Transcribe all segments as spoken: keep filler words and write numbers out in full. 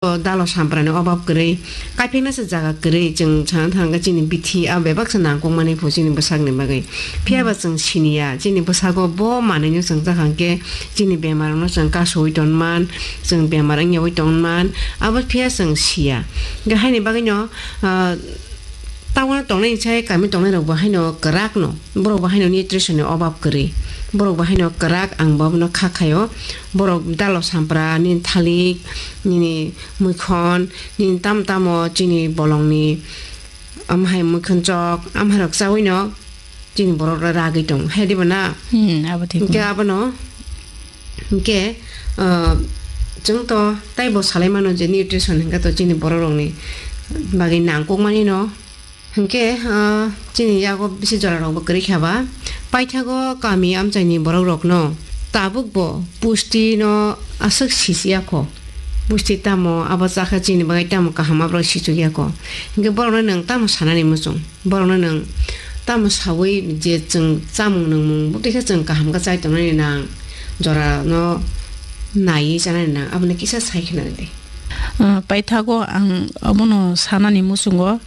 Dalo samprani obab kwrwi, kaipengna se jaga kwrwi, chwng sana thangkhe chini bithi a bebak se nangkukmani pho chini bwsakni bagwi. Phiya ba chwng siniya, chini bwsago bo manwino chwng chakha hwnkhe chini bemarno chwng kasowi tonman, chwng bemar wngyawi tonman, abo phiya chwng siya. Hwnkhe haini bagwino, ah, Tabukno tongnai sai kami tongnai rok bo haino kwrak no, borok bo haino nutrition ni obab kwrwi, borok bo haino kwrak, ang bo abono kha khaio, borok dalo sampra nini thalik, nini muikhon, nini tamo tamo chini bolong ni, amhai muikhon chok, amhai rok chawi no chini borok rok ragwi tong hai diba na? Hmm, abo thik. Hwnkhe no. Abono, hwnkhe, ah, chwng to taibo salai mano je nutrition hwnkhe to chini borok rokni bagwi nangkukmani no. Hwnkhe, ah, chini yago bisi jora rokbo kwrwi kha ba. Paithago kami amchaini borok rokno tabukbo pusti no aswk sisi ya kho. Pusti tamo abo chakha chini bagwi tamo kaham aborok sichuk ya kho. Hwnkhe borokno nwng tamo sanani muchung? Borokno nwng tamo sawi je chwng chamung nwngmung bwtwi khe chwng kaham khe chai tongnani nang, jorano naiwi chanani nang, aboni kisa sai khe nang di. Ah, paithago ang abono sanani muchungo,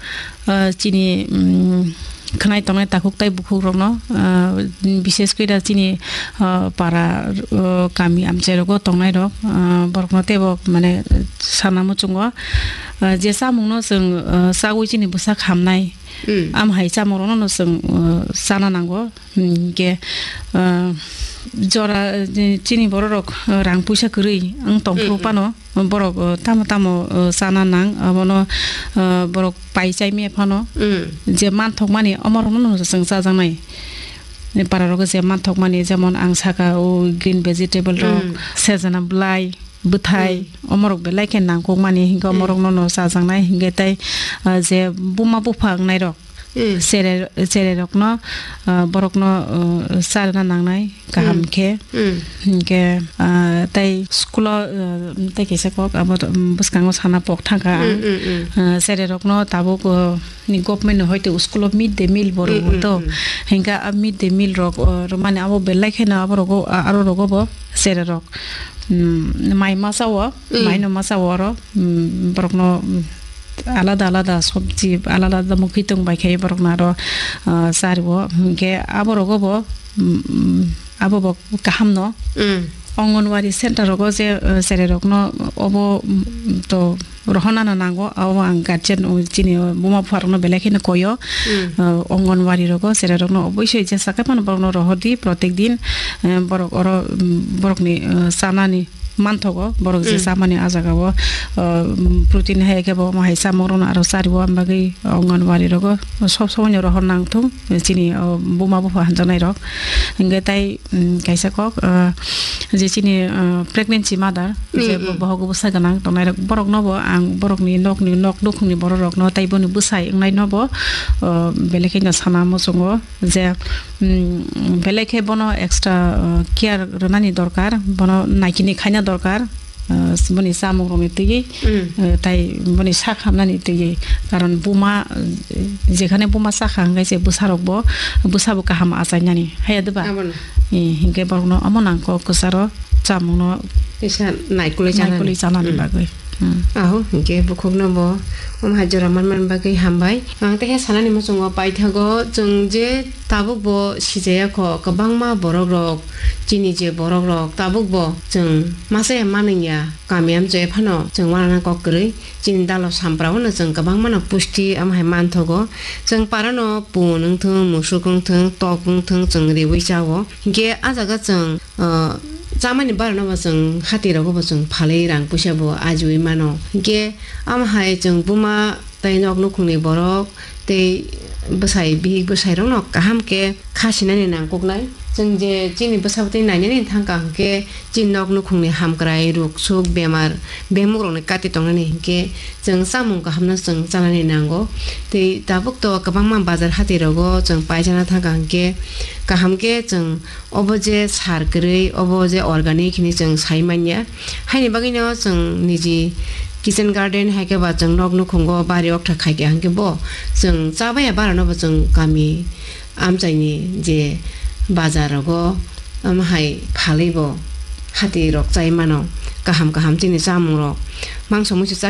ah, chini, mm, khwnai tongnai takhuk tai bukhukrokno, ah, bishes khe da chini, ah, para, ah, kami amchairogo tongnairok, ah, borokno teibo mane sana muchungo, ah, je chamungno chwng, ah, chawi chini bwsak hamnai, Mm. Am hai chamungrokno no chwng, uh, chana nango. Hinkhe, uh, jora, uh, chini bororok, uh, rang puisa kwrwi wng tongphuru Mm, mm. phano, borok, uh, tamo tamo, uh, chana nang, abono, uh, borok pai chai maya phano, Mm. je manthokmani, omorokno no chwng chajaknai. Pararok je manthokmani, jemon ang saka, o green vegetable rok, Mm. sejana bwlai, bwthai, Mm. omorok belai khe nangkukmani, hinkhe Mm. omorokno no chajaknai, hinkhe tei, ah, je buma bupha wngnairok, Mm. chere, chererokno, ah, borokno, ah, charwna nangnai, kaham Mm. khe. Mm. Hinkhe, ah, tei school-o, ah, tei kaisa kok abo to, um, bwskango sana pok thangkha ang. Mm, mm, mm. Ah, chererokno tabuk, ah, ni government ni hoite school-o mid day meal bo Mm, rwo mm, to. Mm. Hinkhe a mid day meal rok, ah, rwmani abo belai kheno abo rogo, ah, aro rogo bo chererok. Mm, mai masa o, Mm. mai no masa o oro, mm, borokno, mm, alada alada sobji, alada alada mukhuitwng bai khe borokno aro, ah, chariwo. Hinkhe abo rogo bo, mm, mm, abo bo kaham no. Mm. Anganwadi center rogo je, ah, chererokno obo, mm, to rohornano nango, abo ang guardian, o, chini, o, buma bupharokno belai kheno koyo. Mm. O, Anganwadi rogo, chererokno oboisoi jesa khe phano borokno rohordi, protek din, eh, borok oro, mm, borokni, eh, chanani manthogo, borok je Mm. chamani a jagao, o, mm, protein hai khe bo omo hai chamungrokno aro chariwo, am bagwi Anganwadi rogo sob somoino rohor nangthung, chini, o, buma bupha hanjaknairok. Hinkhe tai, mm, kaisa kok, ah, je chini, ah, pregnancy mother, je Mm, bo-, mm. bohogo bwsa gwnang tongnai rok, borok no bo ang borok ni nok ni, nok nukhung ni borok rok no tei boni bwsai wngnai no bo, ah, belai khe no sana muchungo je, mm, belai khe bono extra, ah, care rwnani dorkar, bono naikini khaina dorkar. Ah, boni chamung rokni twiwi, Mm. ah, tai boni sak hamnani twiwi. Karon buma, ah, jekhane buma sakha hwnkhe se bwsarokbo, bwsabo kaham achainani. Haiya diba? Abono. Eh, hinkhe borokno omo nang kok kwcharo chamungno Kisa naikolwi chanani. naikolwi chanani Mm. bagwi. Mm. Aho, hinkhe bukhukno bo omo hai jora manmani bagwi hambai. Ang tei khe sanani muchungo paithago chwng je tabuk bo sijaya kho, kwbangma borok rok, chini je borok rok tabuk bo chwng masa ya manwng ya. Kami amchai phano chwng uanana kok kwrwi, chini dalo sampra o no chwng kwbangma no pusti omo hai manthogo. Chwng para no pun wngthung, musuk wngthung, tok wngthung, chwng riwi chao. Hinkhe a jaga chwng, ah, chamani bara no bo chwng hati rogo bo chwng phalwi rang puisa bo ajiwi mano. Hinkhe omo hai chwng buma tei nok nukhungni borok tei bwsai bihik bwsai rokno kaham khe kha sinani nangkuknai. Chwng je chini bwsa bwtwi nainani thangkha hwnkhe chini nok nukhungni hamkrai, ruk suk, bemar, bemuk rokni kati tongnani hinkhe chwng chamung kahamno chwng chanani nango. Tei tabuk to kwbangma bazar hati rogo chwng paisana thangkha hinkhe kaham khe chwng Obo je sar kwrwi, obo je organic hinwi chwng sai manya. Haini bagwino chwng niji kitchen garden hai khe ba chwng nok nukhungo bari okthai khai khe hwnkhe bo chwng chabaya bara no bo chwng kami amchaini je bazar rogo omo hai phalwi bo hati rok chai mano. Kaham kaham chini chamung rok mangso muisu chai